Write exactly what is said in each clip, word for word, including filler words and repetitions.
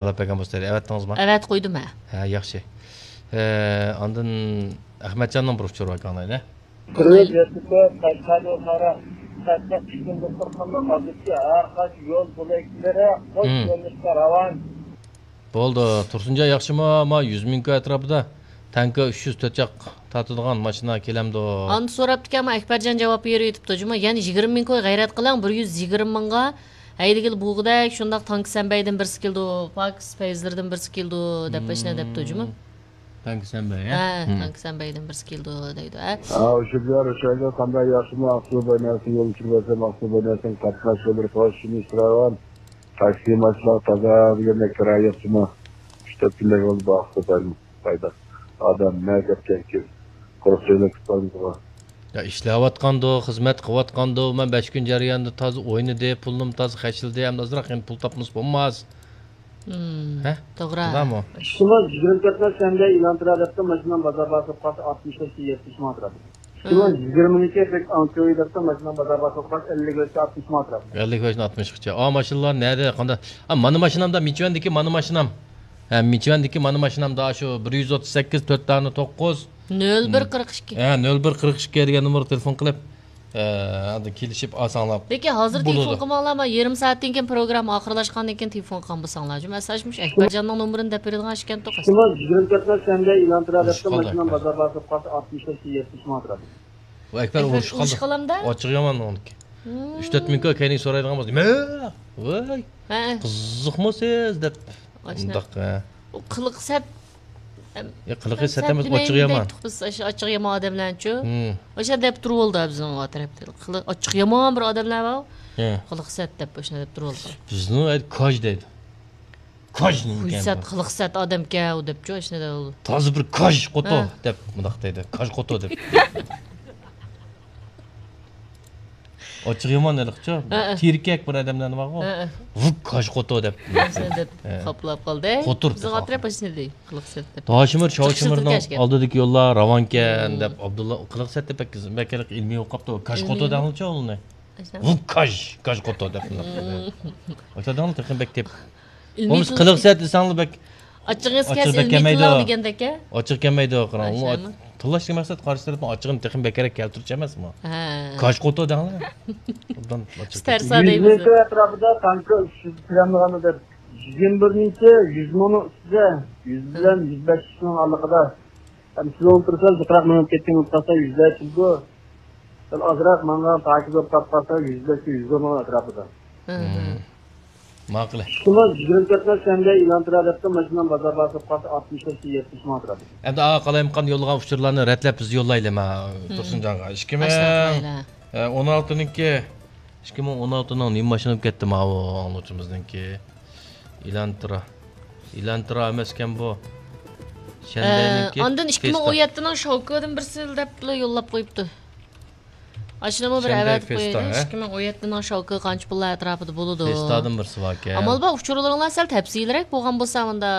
ئالاپ بەرگەن بولسا دەيدۇ. ئەۋەتتىڭىزمۇ؟ ئەۋەتتىن قويدۇم ھە. ھە، ياخشى. ئە، ئاندىن ئەخمەتجاننىڭ بىر ئۇچۇرى بار ئاڭلايلى. كىرىپ يېتىپ، قەشقەردىن سارا، قەشقەر ئىككى كۈندە قىرقىننىڭ ئادىتى ھەر قايسى يول بۆلەكلىرى قوش يۆنىلىشتە راۋان. بولدى. تۇرسۇنجان ياخشىمۇ؟ ما يۈز مىڭ كوي ئەتراپىدا تانكا ئۈچ يۈز تۆت چاق تارتىدىغان ماشىنا كېلەمدۇ؟ ئاندىن سوراپتىكەن، ما ئەكبەرجان جاۋاب بېرىۋېتىپتۇ جۇمۇ. يەنە يىگىرمە مىڭ كوي غەيرەت قىلىڭ، بىر يۈز يىگىرمە مىڭغا ھەيدىگىلى بوغدەك شۇنداق تانكا سەنبەيدىن بىرسى كېلىدۇ، پاكىز پەيزلىرىدىن بىرسى كېلىدۇ دەپ ئاشۇنداق دەپتۇ جۇمۇ. تانكا سەنبەي ھە؟ ھە، تانكا سەنبەيدىن بىرسى كېلىدۇ دەيدۇ ھە. ھە، ئۇشۇ بىلەن رۇشەنگە قانداق ياخشىمۇ؟ ئاقسۇ بايناسىڭ يول چۈشۈرۈۋەتسەم، ئاقسۇ بايناسىڭ قاتناش يوللىرى پوش شۇنى سۈرەۋەن. تاكسى ماشىنا تازا دېگەندەك كىرايە يوقچىمۇ؟ ئۈچ تۆت كۈندەك بولدى بۇ ئاقسۇ باينىڭ. پايدا. ئادەم نە گەپكەنكىن. قۇرۇق سۆزلەپ كېتىپ قالدىغۇ. يا ئىشلەۋاتقاندۇ، خىزمەت قىلىۋاتقاندۇ، مەن بەش كۈن جەريانىدا تازا ئوينىدى، پۇلنىمۇ تازا خەجلىدى، ئەمدى ئازراق يەنە پۇل تاپمىسا بولماس. ھە؟ توغرا. شۇنداقمۇ؟ ئىككى مىڭ يىگىرمە تۆتىنچى سەندە ئېلان تۇرا دەپتۇ، ماشىنام بازار بارسا قالسا ئاتمىش بەش يەتمىش مىڭ تۇراتتى. ئىككى مىڭ يىگىرمىنىڭكى بەك ئاڭكۆي دەپتۇ، ماشىنام بازار بارسا قالسا ئەللىك بەش ئاتمىش مىڭ تۇراتتى. ئەللىك بەشتىن ئاتمىشقىچە. ئا، ماشىنىلار نەدە، قانداق؟ ئا، مانا ماشىنامدا، مىچۈەندىكى مانا ماشىنام. ھە، مىچۈەندىكى مانا ماشىنامدا شۇ بىر يۈز ئوتتۇز سەككىز، تۆت دانە توققۇز. نۆل بىر قىرىق ئىككى. ھە، نۆل بىر قىرىق ئىككى دېگەن نومۇرغا تېلېفون قىلىپ، ئە، ئاندىن كېلىشىپ ئالساڭلار بولىدۇ. لېكىن ھازىر تېلېفون قىلماڭلار، مانا يېرىم سائەتتىن كېيىن پروگرامما ئاخىرلاشقاندىن كېيىن تېلېفون قىلغان بولساڭلار. جۇمۇ ئەسلى مۇشۇ ئەكبەرجاننىڭ نومۇرىنى دەپ بېرىدىغان ئىكەن توقاس. ئىككى مىڭ يىگىرمە تۆتىنچى سەندە ئېلان تۇرا دەپتۇ، ماشىنام بازار بارسا قالسا ئاتمىش بەش يەتمىش مىڭ تۇراتتى. ۋە ئەكبەر ئۇرۇشۇپ قالدى. ئۇرۇشۇپ قالامدا؟ ئاچچىقى يامان ئۇنىڭكى. ئۈچ تۆت مىڭ كوي كەينىگە سورايدىغان بولسا، مە، ۋاي، ھە. قىزىقمۇ سىز دەپ. ئاشۇنداق. مۇنداق، ھە. ئۇ قىلىقى سەت. يا، قىلىقى سەت ئەمەس، ئاچچىقى يامان. بىز ئاشۇ ئاچچىقى يامان ئادەملەرنىچۇ. ئاشۇ دەپ تۇرۇۋالدى بىزنىڭ ئۇ تەرەپتە. قىلىق، ئاچچىقى يامان بىر ئادەملەر بار. ھە. قىلىقى سەت دەپ ئاشۇنداق دەپ تۇرۇۋالدى. بىزنىڭ ئەيدى كاج دەيدۇ. كاج نېمىكەن؟ خۇيسەت، قىلىقسەت ئادەمكەن ئۇ دەپچۇ، ئاشۇنداق دەپ. تازا بىر كاج قوتو دەپ مۇنداق دەيدۇ. كاج قوتو دەپ. ئاچچىقى يامان ھېلىقىچۇ. تېرىكەك بىر ئادەملەرنى بارغۇ. ۋۇ كاج قوتو دەپ. ئاشۇنداق دەپ خاپىلاپ قالدى. قوتۇر بىزنىڭ ئەتراپ ئاشۇنداق دەيدۇ. قىلىقسەت دەپ. تاشىمىر، شاۋشىمىرنىڭ ئالدىدىكى يوللار راۋانكەن دەپ ئابدۇللا قىلىقسەت دەپ بەك، بەك ئىلمىي ئوقۇپتۇ. كاج قوتو دەڭلىچۇ ئۇنى. ۋۇ كاج، كاج قوتو دەپ. ئاشۇنداق دەڭلار تېخى بەك دەپ. بولمىسا قىلىقسەت دېسەڭلار بەك ئاچچىقىڭىز كەلسە ئىلمىي تىللاڭ دېگەندەك-ە. ئاچچىقى كەلمەيدۇ، قاراڭ. تىللاشتىكى مەقسەت قارشى تەرەپنىڭ ئاچچىقىنى تېخىمۇ بەكرەك كەلتۈرۈش ئەمەسمۇ؟ ھە. كاج قوتو دەڭلار. ئوبدان ئاچچىق. تەرسا دەيمىز. يۈز مىڭ ئەتراپىدا تانكا ئۈچ يۈز كىلومېتىرغا دەپ. يىگىرمە بىرىنچى يۈز مىڭنىڭ ئۈستىدە، يۈز بىلەن يۈز بەش مىڭنىڭ ئارىلىقىدا. ئەمدى سىز ئولتۇرسا، جىقراق مېڭىپ كەتكەن بولۇپ قالسا، يۈز بەش يۈزگە. سەل ئازراق ماڭغان پاكىز بولۇپ قالسا، يۈز بەش يۈز ئون ئەتراپىدا. ماقۇل. ئىككى مىڭ يىگىرمە تۆتىنچى سەندە ئېلان تۇرا دەپتۇ، ماشىنام بازار بارسا قالسا ئاتمىش بەش يەتمىش مىڭ تۇراتتى. ئەمدى ئا قالايمىقان يوللىغان ئۇچۇرلارنى رەتلەپ بىز يوللايلى ما تۇرسۇنجانغا. ئىككى مىڭ ئاشۇنداق قىلايلى. ئە، ئون ئالتىنىڭكى، ئىككى مىڭ ئون ئالتىنىڭ نېمە ماشىنا بولۇپ كەتتى ماۋۇ ئاڭلىغۇچىمىزنىڭكى؟ ئېلان تۇرا. ئېلان تۇرا ئەمەسكەن بۇ. ئە، شەنبەينىڭكى ئاندىن ئىككى مىڭ ئون يەتتىنىڭ شاۋكىدىن بىرسى دەپلا يوللاپ قويۇپتۇ. ئاشۇنىمۇ بىر ئەۋەتىپ قويايلى. ئىككى مىڭ ئون يەتتىنىڭ شاۋكى قانچە پۇللار ئەتراپىدا بولىدۇ؟ فېستادىن بىرسى باركەن. ئامال بار، ئۇچۇرلىرىڭلار سەل تەپسىلىيرەك بولغان بولسا، مۇندا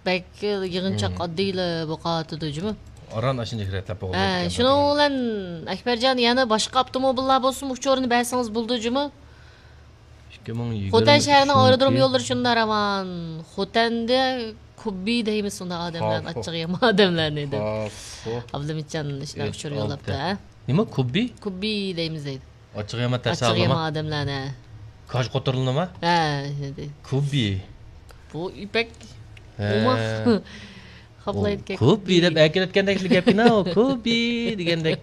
بەك يىغىنچاق ئاددىيلا بولۇپ قالىۋاتىدۇ جۇمۇ. ئاران ئاشۇنچە رەتلەپ بولغان. ھە، شۇنىڭ بىلەن ئەكبەرجان يەنە باشقا ئاپتوموبىللار بولسىمۇ ئۇچۇرىنى بەرسىڭىز بولىدۇ جۇمۇ. ئىككى مىڭ يىگىرمە ئۈچىنچى يىلى. خوتەن شەھىرىنىڭ ئايرودروم يوللىرى شۇنداق راۋان. خوتەندە كوببى دەيمىز ئۇنداق ئادەملەرنى، ئاچچىقى يامان ئادەملەرنى دەپ. ئابلىمىتجان شۇنداق ئۇچۇر يوللاپتۇ، ھە؟ نېمە، كوببى؟ كوببى دەيمىز دەيدۇ. ئاچچىقى يامان تەسەللىما؟ ئاچچىقى يامان ئادەملەرنى. كاج قوتۇرلىنىما؟ ھە، شۇنداق. كوببى. بۇ يىپەك. ھە. ئوماق. خاپلايدىكەن. كوببى دەپ ئەكېلىۋەتكەندەك گەپكىنا، كوببى دېگەندەك.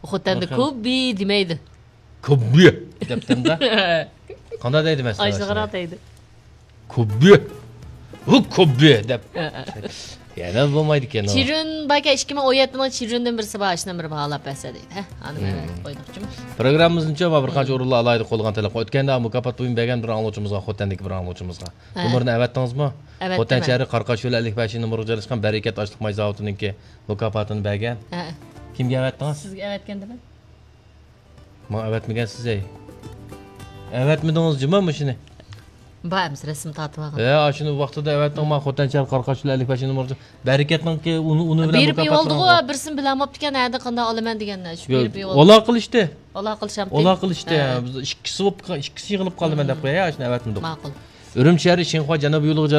خوتەندە كوببى دېمەيدۇ. كوببى دەپتىمدا. قانداق دەيدۇ مەسىلەن؟ ئايشىغىراق دەيدۇ. كوببى. ۋۇ كوببى دەپ. ھە، ھە. يەنە بولمايدىكەن ئۇ. چىرۈن باركەن، ئىككى مىڭ ئون يەتتىنىڭ چىرۈندىن بىرسى بار، ئاشۇنداق بىر باھالاپ بەرسە دەيدۇ. ھە، ئانى مەن ئېيتىپ قويدۇقچۇ. پروگراممىمىزنىڭچۇ بىر قانچە ئورۇنلار ئالاھىدە قوللىغان تەلەپ قويۇپ ئۆتكەندە مۇكاپات بۇيۇمى بەرگەن بىر ئاڭلىغۇچىمىزغا، خوتەندىكى بىر ئاڭلىغۇچىمىزغا. ھە. نومۇرىنى ئەۋەتتىڭىزمۇ؟ ئەۋەتتىم. خوتەن شەھىرى قاراقاش يولى ئەللىك بەشىنچى نومۇرغا جايلاشقان بەرىكەت ئاشلىق ماي زاۋۇتىنىڭكى مۇكاپاتىنى بەرگەن. ھە. كىمگە ئەۋەتتىڭىز؟ سىزگە ئەۋەتكەندىمەن. ماڭا ئەۋەتمىگەنسىز ھەي. ئەۋەتمىدىڭىز جۇما مۇشۇنى. بار ئەمىسە رەسىم تارتىۋالغان. ھە، ئاشۇنى ۋاقتىدا ئەۋەتتىڭ، ماڭا خوتەن شەھەر قاراقاش يولى ئەللىك بەشىنچى نومۇر. بەرىكەتنىڭكى ئۇنى، ئۇنى بىلەن بېرىپ يىغالدىغۇ، بىرسىنى بىلەلمەپتىكەن، ھەدە قانداق ئالىمەن دېگەن. شۇ بېرىپ يىغالدى. ئالاقە قىلىشتى. ئالاقە قىلىشامتى. ئالاقە قىلىشتى. ھە. بىز ئىككىسى بولۇپ، ئىككىسى يىغىلىپ قالدى، مەن دەپ قوياي، ھە، ئاشۇنى ئەۋەتمىدۇق. ماقۇل. ئۈرۈمچى شەھىرى شىنخۇا جەنۇبىي يولىغا